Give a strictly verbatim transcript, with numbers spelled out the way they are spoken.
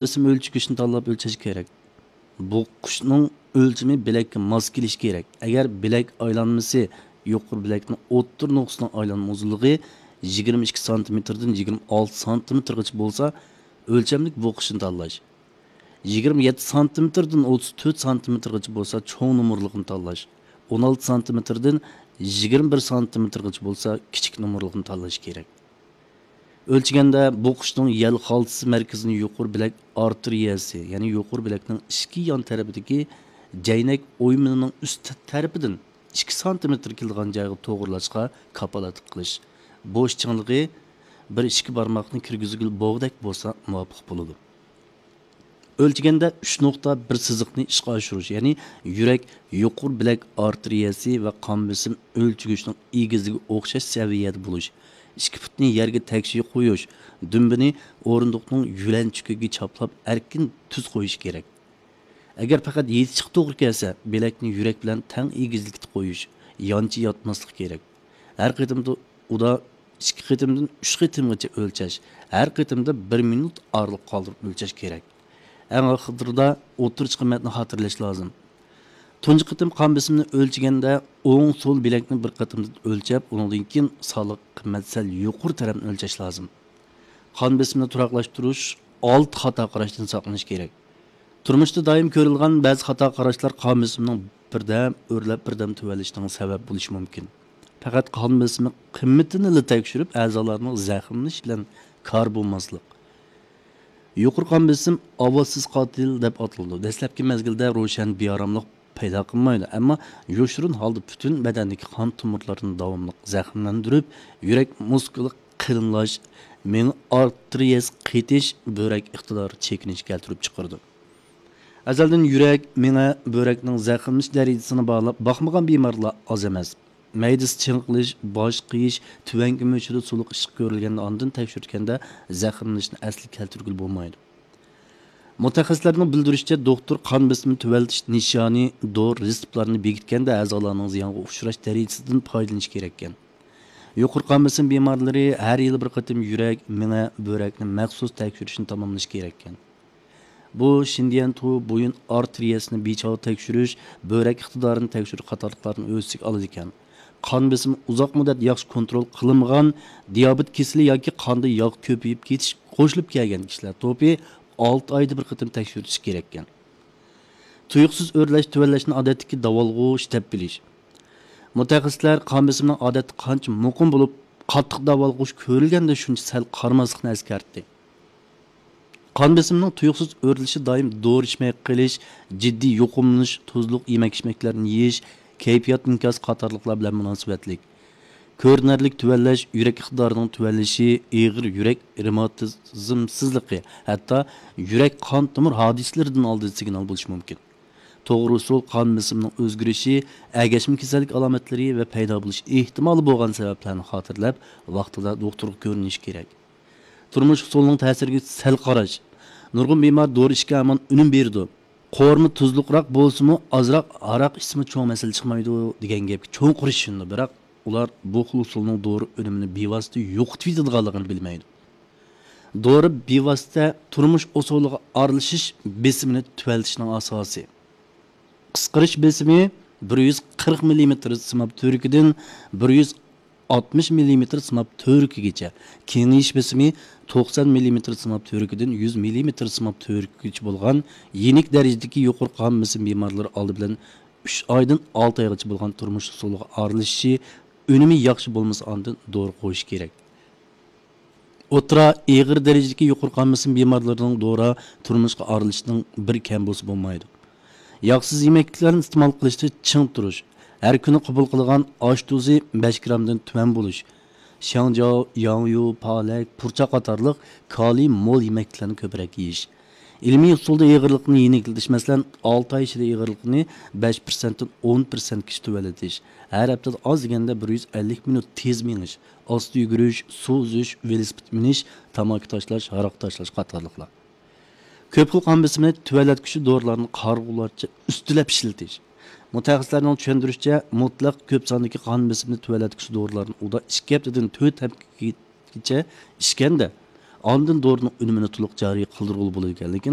بېسىم ئۆلچىگۈچنى تاللاپ ئۆلچەش كېرەك. بوغقۇچنىڭ ئۆلچىمى بىلەككە ماس كېلىشى كېرەك. ئەگەر بىلەك ئايلانمىسى، يۇقىرى بىلەكنىڭ ئوتتۇرا نۇقتىسىنىڭ ئايلانما ئۇزۇنلۇقى يىگىرمە ئىككى سانتىمېتىردىن يىگىرمە ئالتە سانتىمېتىرغىچە بولسا، ئۆلچەملىك بوغقۇچنى تاللاش. يىگىرمە يەتتە سانتىمېتىردىن ئوتتۇز تۆت سانتىمېتىرغىچە بولسا، چوڭ نومۇرلۇقىنى تاللاش. ئون ئالتە سانتىمېتىردىن يىگىرمە بىر سانتىمېتىرغىچە بولسا، كىچىك نومۇرلۇقىنى تاللاش كېرەك. ئۆلچىگەندە بوغقۇچنىڭ يەل خالتىسى مەركىزىنى يۇقىرى بىلەك ئارتېرىيەسى، يەنى يۇقىرى بىلەكنىڭ ئىچكى يان تەرىپىدىكى جەينەك ئويمىنىنىڭ ئۈست تەرىپىدىن ئىككى سانتىمېتىر كېلىدىغان جايغا توغرىلاشقا كاپالەتلىك قىلىش. بوش چىڭلىقى بىر ئىككى بارماقنى كىرگۈزگىلى بولغۇدەك بولسا مۇۋاپىق بولىدۇ. ئۆلچىگەندە ئۈچ نۇقتا بىر سىزىقنى ئىشقا ئاشۇرۇش، يەنى يۈرەك يۇقىرى بىلەك ئارتېرىيەسى ۋە قان بېسىم ئۆلچىگۈچنىڭ ئېگىزلىكى ئوخشاش سەۋىيەدە بولۇش، ئىككى پۇتنى يەرگە تەكشى قويۇش، دۈمبىنى ئورۇندۇقنىڭ يۆلەنچۈكىگە چاپلاپ ئەركىن تۈز قويۇش كېرەك. ئەگەر پەقەت يېتىشقا توغرا كەلسە، بىلەكنى يۈرەك بىلەن تەڭ ئېگىزلىكتە قويۇش، يانچە ياتماسلىق كېرەك. ھەر قېتىمدا ئۇدا ئىككى قېتىمدىن ئۈچ قېتىمغىچە ئۆلچەش، ھەر قېتىمدا بىر مىنۇت ئارىلىق قالدۇرۇپ ئۆلچەش كېرەك. ئەڭ ئاخىرىدا ئوتتۇرىچە قىممەتنى خاتىرىلەش لازىم. تۇنجى قېتىم قان بېسىمنى ئۆلچىگەندە، ئوڭ سول بىلەكنى بىر قېتىمدا ئۆلچەپ، ئۇنىڭدىن كېيىن سانلىق قىممەت سەل يۇقىرى تەرەپنى ئۆلچەش لازىم. قان بېسىمىنى تۇراقلاشتۇرۇش ئالتە خاتا قاراشتىن ساقلىنىش كېرەك. تۇرمۇشتا دائىم كۆرۈلگەن بەزى خاتا قاراشلار قان بېسىمىنىڭ بىردەم ئۆرلەپ، بىردەم تۆۋەنلىشىنىڭ سەۋەب بولۇشى مۇمكىن. پەقەت قان بېسىمى قىممىتىنىلا تەكشۈرۈپ، ئەزالارنىڭ زەخىملىنىشى بىلەن كار بولماسلىق. يۇقىرى قان بېسىم ئاۋازسىز قاتىل دەپ ئاتىلىدۇ. دەسلەپكى مەزگىلدە روشەن بىئاراملىق پەيدا قىلمايدۇ، ئەمما يوشۇرۇن ھالدا پۈتۈن بەدەندىكى قان تومۇرلىرىنى داۋاملىق زەخىملەندۈرۈپ، يۈرەك مۇسكۇلى قېلىنلاش، مېڭە ئارتېرىيەسى قېتىش، بۆرەك ئىقتىدارى چېكىنىشكە كەلتۈرۈپ چىقىرىدۇ. ئەزەلدىن يۈرەك، مېڭە، بۆرەكنىڭ زەخىملىنىش دەرىجىسىنى باھالاپ باقمىغان بىمارلار ئاز ئەمەس. مەيدىسى چېڭىقىش، باش قېيىش، تۆۋەنكى مۈشۈدە سۇلۇق ئىششىق كۆرۈلگەندە ئاندىن تەكشۈرتكەندە زەخىملىنىشنى ئەسلىگە كەلتۈرگىلى بولمايدۇ. مۇتەخەسسىسلەرنىڭ بىلدۈرۈشىچە، دوختۇر قان بېسىمىنى تۆۋەنلىتىش نىشانى، دورا رېتسېپلارنى بېكىتكەندە ئەزالارنىڭ زىيانغا ئۇچراش دەرىجىسىدىن پايدىلىنىش كېرەككەن. يۇقىرى قان بېسىم بىمارلىرى ھەر يىلى بىر قېتىم يۈرەك، مېڭە، بۆرەكنى مەخسۇس تەكشۈرۈشنى تاماملىشى كېرەككەن. بۇ شىندىيەنتۇ بويۇن ئارتېرىيەسىنى بىچاۋ تەكشۈرۈش، بۆرەك ئىقتىدارىنى تەكشۈرۈش قاتارلىقلارنى ئۆز ئىچىگە ئالىدىكەن. قان بېسىمى ئۇزاق مۇددەت ياخشى كونترول قىلىنمىغان، دىيابېت كېسىلى ياكى قاندا ياغ كۆپىيىپ كېتىش قوشۇلۇپ كەلگەن كىشىلەر توپى ئالتە ئايدا بىر قېتىم تەكشۈرتۈش كېرەككەن. تۇيۇقسىز ئۆرلەش، تۆۋەنلەشنى ئادەتتىكى داۋالغۇش دەپ بىلىش. مۇتەخەسسىسلەر قان بېسىمىنىڭ ئادەتتە قانچە مۇقىم بولۇپ، قاتتىق داۋالغۇش كۆرۈلگەندە شۇنچە سەل قارىماسلىقنى ئەسكەرتتى. قان بېسىمىنىڭ تۇيۇقسىز ئۆرلىشى دائىم دورا ئىچمەي قېلىش، جىددىي يۇقۇملىنىش، تۇزلۇق يېمەك-ئىچمەكلەرنى يېيىش، كەيپىيات ئىنكاسى قاتارلىقلار بىلەن مۇناسىۋەتلىك. كۆرۈنەرلىك تۆۋەنلەش، يۈرەك ئىقتىدارىنىڭ تۆۋەنلىشى، ئېغىر يۈرەك رېماتىزمسىزلىقى، ھەتتا يۈرەك قان تومۇر ھادىسىلىرىدىن ئالدىن سىگنال بولۇشى مۇمكىن. توغرا ئۇسۇل قان بېسىمىنىڭ ئۆزگىرىشى، ئەگەشمە كېسەللىك ئالامەتلىرى ۋە پەيدا بولۇش ئېھتىمالى بولغان سەۋەبلەرنى خاتىرىلەپ، ۋاقتىدا دوختۇرغا كۆرۈنۈش كېرەك. تۇرمۇش ئۇسۇلىنىڭ تەسىرىگە سەل قاراش. نۇرغۇن بىمار دورا ئىچكەن ھامان ئۈنۈم بېرىدۇ. قورۇما تۇزلۇقراق بولسىمۇ، ئازراق ھاراق ئىچسىمۇ چوڭ مەسىلە چىقمايدۇ دېگەن گەپكە چوڭقۇر ئىشىنىدۇ، بىراق ئۇلار بۇ خىل ئۇسۇلنىڭ دورا ئۈنۈمىنى بىۋاسىتە يوقىتىۋېتىدىغانلىقىنى بىلمەيدۇ. دورا بىۋاسىتە تۇرمۇش ئۇسۇلىغا ئارىلىشىش بېسىمىنى تۆۋەنلىتىشنىڭ ئاساسى. قىسقىرىش بېسىمى بىر يۈز قىرىق مىللىمېتىر سىماب تۈۋرۈكىدىن بىر يۈز ئاتمىش مىللىمېتىر سىماب تۈۋرۈكىگىچە، كېڭىيىش بېسىمى توقسان مىللىمېتىر سىماب تۈۋرۈكىدىن يۈز مىللىمېتىر سىماب تۈۋرۈكىگىچە بولغان يېنىك دەرىجىدىكى يۇقىرى قان بېسىم بىمارلىرى ئالدى بىلەن ئۈچ ئايدىن ئالتە ئايغىچە بولغان تۇرمۇش ئۇسۇلىغا ئارىلىشىشى، ئۈنۈمى ياخشى بولمىسا ئاندىن دورا قويۇش كېرەك. ئوتتۇرا، ئېغىر دەرىجىدىكى يۇقىرى قان بېسىم بىمارلىرىنىڭ دورا تۇرمۇشقا ئارىلىشىشنىڭ بىر كەم بولسا بولمايدۇ. ياغسىز يېمەكلىكلەرنى ئىستېمال قىلىشتا چىڭ تۇرۇش، ھەر كۈنى قوبۇل قىلىدىغان ئاش تۇزى بەش گىرامدىن تۆۋەن بولۇش، شياڭجياۋ، ياڭيۇ، پالەك، پۇرچاق قاتارلىق كالىي مول يېمەكلىكلەرنى كۆپرەك يېيىش، ئىلمىي ئۇسۇلدا ئېغىرلىقنى يېنىكلىتىش، مەسىلەن، ئالتە ئاي ئىچىدە ئېغىرلىقنى بەش پىرسەنتتىن ئون پىرسەنتكىچە تۆۋەنلىتىش، ھەر ھەپتىدە ئاز دېگەندە بىر يۈز ئەللىك مىنۇت تېز مېڭىش، ئاستا يۈگۈرۈش، سۇ ئۈزۈش، ۋېلىسىپىت مىنىش، تاماكا تاشلاش، ھاراق تاشلاش قاتارلىقلار. كۆپ خىل قان بېسىمىنى تۆۋەنلەتكۈچى دورىلارنى قارىغۇلارچە ئۈستىلەپ ئىشلىتىش. مۇتەخەسسىسلەرنىڭ چۈشەندۈرۈشىچە، مۇتلەق كۆپ ساندىكى قان بېسىمىنى تۆۋەنلەتكۈچى دورىلارنى ئۇدا ئىككى ھەپتىدىن تۆت ھەپتىگىچە ئىچكەندە، ئاندىن دورىنىڭ ئۈنۈمىنى تولۇق جارى قىلدۇرغىلى بولىدىكەنلىكىنى